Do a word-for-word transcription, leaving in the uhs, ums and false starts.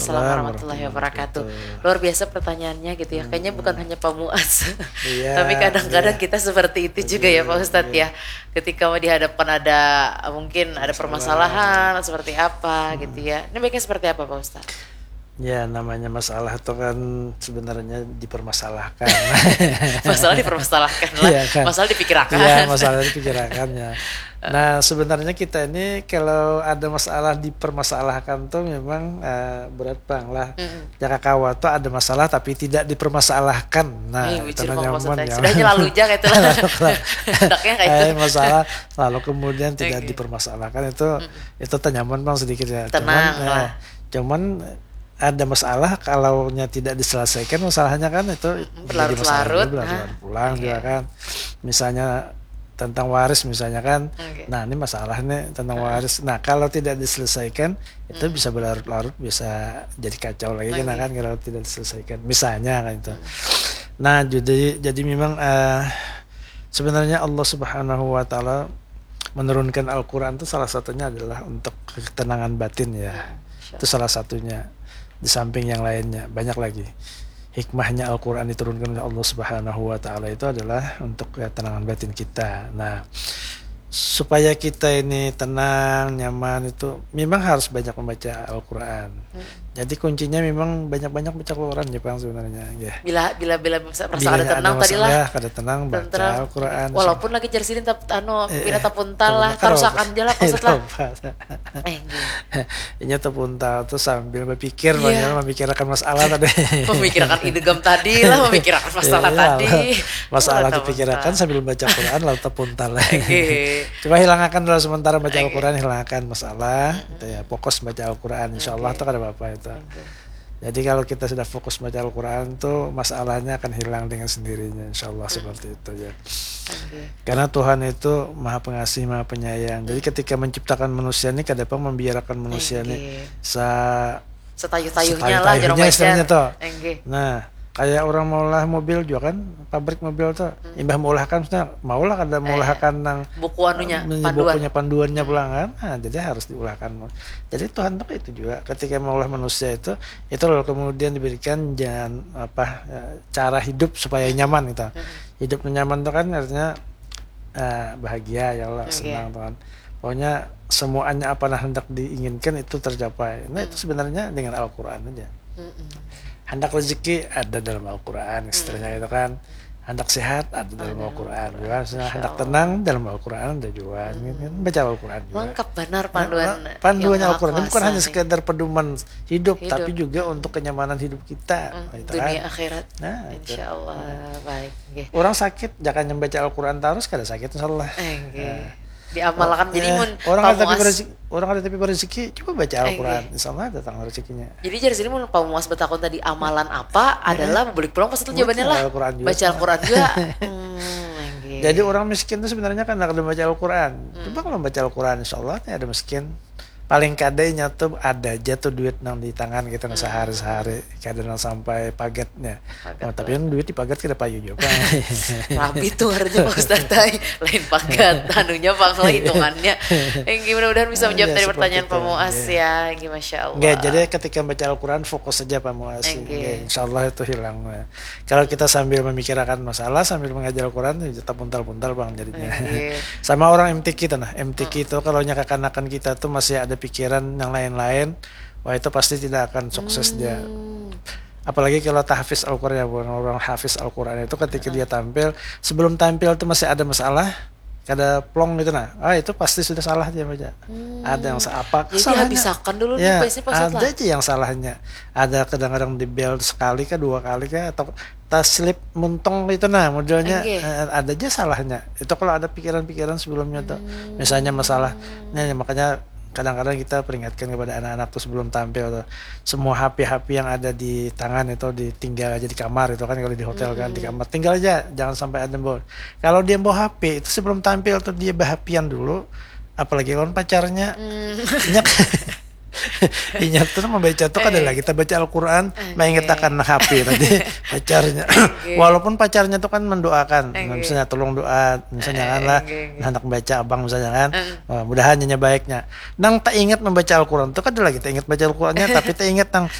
Waalaikumsalam warahmatullahi wabarakatuh. Luar biasa pertanyaannya gitu ya. Kayaknya bukan hanya Pak Muas. Iya, tapi kadang-kadang kita seperti itu juga ya, Pak Ustadz, ya. Ketika mau dihadapkan ada, mungkin ada permasalahan seperti apa gitu ya. Ini baiknya seperti apa, Pak Ustadz? Ya, namanya masalah itu kan sebenarnya dipermasalahkan. Masalah dipermasalahkan lah. Iya, kan? Masalah dipikirakan. Iya, masalah dipikirakan, ya. Nah, sebenarnya kita ini kalau ada masalah dipermasalahkan tuh memang, eh, berat bang lah. Mm-mm. Jaka kawa tuh ada masalah tapi tidak dipermasalahkan. Nah, ih, itu bujur, nyaman, maksudnya. Ya. Sudahnya lalu aja gitu lah. Lalu, lalu. Hendaknya kayak itu. Eh, masalah lalu kemudian tidak, oke, dipermasalahkan itu, mm-mm, itu tenyaman bang sedikit ya. Tenang, cuman, eh, lah. Cuman ada masalah, kalaunya tidak diselesaikan masalahnya kan itu, mm-mm, menjadi masalah berlarut-larut, juga, nah, berlarut-larut pulang, iya, juga kan. Misalnya tentang waris misalnya kan. Oke. Nah, ini masalah nih tentang, heeh, waris. Nah, kalau tidak diselesaikan itu, hmm, bisa berlarut-larut, bisa jadi kacau lagi kan, oke, kan, kalau tidak diselesaikan. Misalnya kan itu. Hmm. Nah, jadi, jadi memang, eh, sebenarnya Allah Subhanahu wa Ta'ala menurunkan Al-Quran itu salah satunya adalah untuk ketenangan batin, ya. Hmm, insya Allah. Itu salah satunya. Di samping yang lainnya, banyak lagi. Hikmahnya Al-Quran diturunkan oleh Allah Subhanahu wa Ta'ala itu adalah untuk ketenangan batin kita. Nah, supaya kita ini tenang, nyaman itu memang harus banyak membaca Al-Quran. Hmm. Jadi kuncinya memang banyak-banyak baca Quran, ya, Bang, sebenarnya, ya. Bila, bila, bila merasa, merasa bilanya ada tenang tadi lah, masalah, kada tenang, baca Al-Quran. Walaupun lagi jar sidin tap-, anu, eh, pina, eh, tapuntal lah, tarusakan aja lah, Pak Ustadz lah. Eh, iya. Inya tapuntal tuh sambil berpikir, iya, memikirakan masalah tadi. Memikirakan idgham tadi lah, memikirakan masalah tadi. Iya, masalah dipikirakan sambil baca Quran, lalu tapuntal. Oke. Coba hilangakan dulu sementara baca, oke, Al-Quran, hilangakan masalah. Mm-mm. Gitu ya, fokus baca Al-Quran, insya Allah, oke, tuh kada apa-apa itu. Oke. Jadi kalau kita sudah fokus baca Al-Quran tuh, masalahnya akan hilang dengan sendirinya, insya Allah, hmm, seperti itu ya. Oke. Karena Tuhan itu maha pengasih, maha penyayang. Jadi, hmm, ketika menciptakan manusia ini, kada pang membiarkan manusia ini, oke, sa-, setayuh-tayuhnya lah, setayuh-tayuhnya istilahnya tuh. Oke. Nah, kayak orang maulah mobil juga kan, pabrik mobil tuh, hmm, imbah meulahkan, maksudnya maulah kada, eh, meulahkan nang buku anunya, eh, panduan, bukunya, panduannya, hmm, pulang kan. Nah, jadi harus diulahkan. Jadi Tuhan tuh kayak itu juga, ketika maulah manusia itu, itu lalu kemudian diberikan jalan apa, eh, cara hidup supaya nyaman gitu. Hmm. Hidup nyaman tuh kan artinya, eh, bahagia ya Allah, oke, senang tuh kan. Pokoknya semuanya apa nah hendak diinginkan itu tercapai. Nah, itu, hmm, sebenarnya dengan Al-Quran aja. Mm-mm. Hendak rezeki ada dalam Al-Quran, istilahnya, mm, itu kan. Hendak sehat ada dalam, ada dalam Al-Quran juga. Insya Allah. Hendak tenang dalam Al-Quran ada juga. Hmm. Gitu kan. Baca Al-Quran juga. Lengkap benar panduan, eh, panduannya Al-Quran. Ini bukan hanya sekedar pedoman hidup, hidup, tapi juga untuk kenyamanan hidup kita. Hmm. Gitu kan. Dunia akhirat. Nah, itu. Insya Allah. Baik. Nggih. Orang sakit, jangan membaca Al-Quran terus, kada sakit, insya Allah. Eh, nggih. Nah. Diamalkan. Jadi, eh, mun orang ada tapi berezeki, orang ada tapi berezeki, coba baca Al-Quran, eh, nggih, insya Allah datang rezekinya. Jadi, jar sini mun Pak Muas batakun tadi amalan apa, eh, adalah bulik pulang pas itu jawabannya lah. Baca Al-Quran juga. Baca Al-Quran juga. Hmm, nggih. Jadi, orang miskin itu sebenarnya kan kada baca Al-Quran. Hmm. Coba kalau baca Al-Quran, insya Allah ada miskin. Paling kada inya tuh ada aja tuh duit nang di tangan kita nang, hmm, sehari-sehari, kada nang sampai pagatnya. Pagat. Oh, tapi lah. Yang duit di pagat kada payu juga, Pak. Rabi tuh ngarannya, Pak Ustadz, ai. Lain pagat, anunya, Pak, lah, hitungannya. Enggih, mudah-mudahan bisa menjawab tadi pertanyaan Pak Muas, ya. Enggih, masya Allah. Enggih, jadi ketika baca Al-Quran fokus saja, Pak Muas. Enggih. Enggih, insya Allah itu hilang. Kalau kita sambil memikirakan masalah, sambil mengajar Al-Quran, ya tetap puntal-puntal, Bang, jadinya. Oke. Sama orang M T Q itu, nah, M T Q itu, hmm, kalau nya kakanakan kita tuh masih ada pikiran yang lain-lain, wah, itu pasti tidak akan sukses dia. Hmm. Apalagi kalau tahfiz Al-Quran, ya, orang, orang hafiz Al-Quran itu ketika, heeh, dia tampil, sebelum tampil tuh masih ada masalah, kada plong gitu, nah. Ah, itu pasti sudah salah dia baca. Hmm. Ada yang sa-, apa kesalahannya? Jadi dihabiskan dulu nih, ya, pasti, Pak Ustadz, ada lah aja yang salahnya. Ada kadang-kadang di-bel sekali kah, dua kali kah, atau taslip muntung itu, nah, modelnya, enggih, eh, ada aja salahnya. Itu kalau ada pikiran-pikiran sebelumnya tuh. Hmm. Misalnya masalah, nah, makanya kadang-kadang kita peringatkan kepada anak-anak tuh sebelum tampil tuh, semua H P-H P yang ada di tangan itu ditinggal aja di kamar itu kan, kalau di hotel kan, di, mm-mm, kamar, tinggal aja, jangan sampai ada yang bawa. Kalau dia bawa H P itu sebelum tampil tuh dia bahapian dulu, apalagi lawan pacarnya. Hmm. Inya, inya tuh membaca tuh kada, eh, lagi kita baca Al-Quran, oke, mainget akan H P tadi, pacarnya. Oke. Walaupun pacarnya tuh kan mendoakan, oke, misalnya tolong doa, misalnya, eh, kan lah, oke, oke, nah, hendak baca abang misalnya kan, eh, wah, mudahan inya baiknya. Nang tak ingat membaca Al-Quran tuh kada lagi tak ingat baca Al-Qurannya, tapi tak ingat nang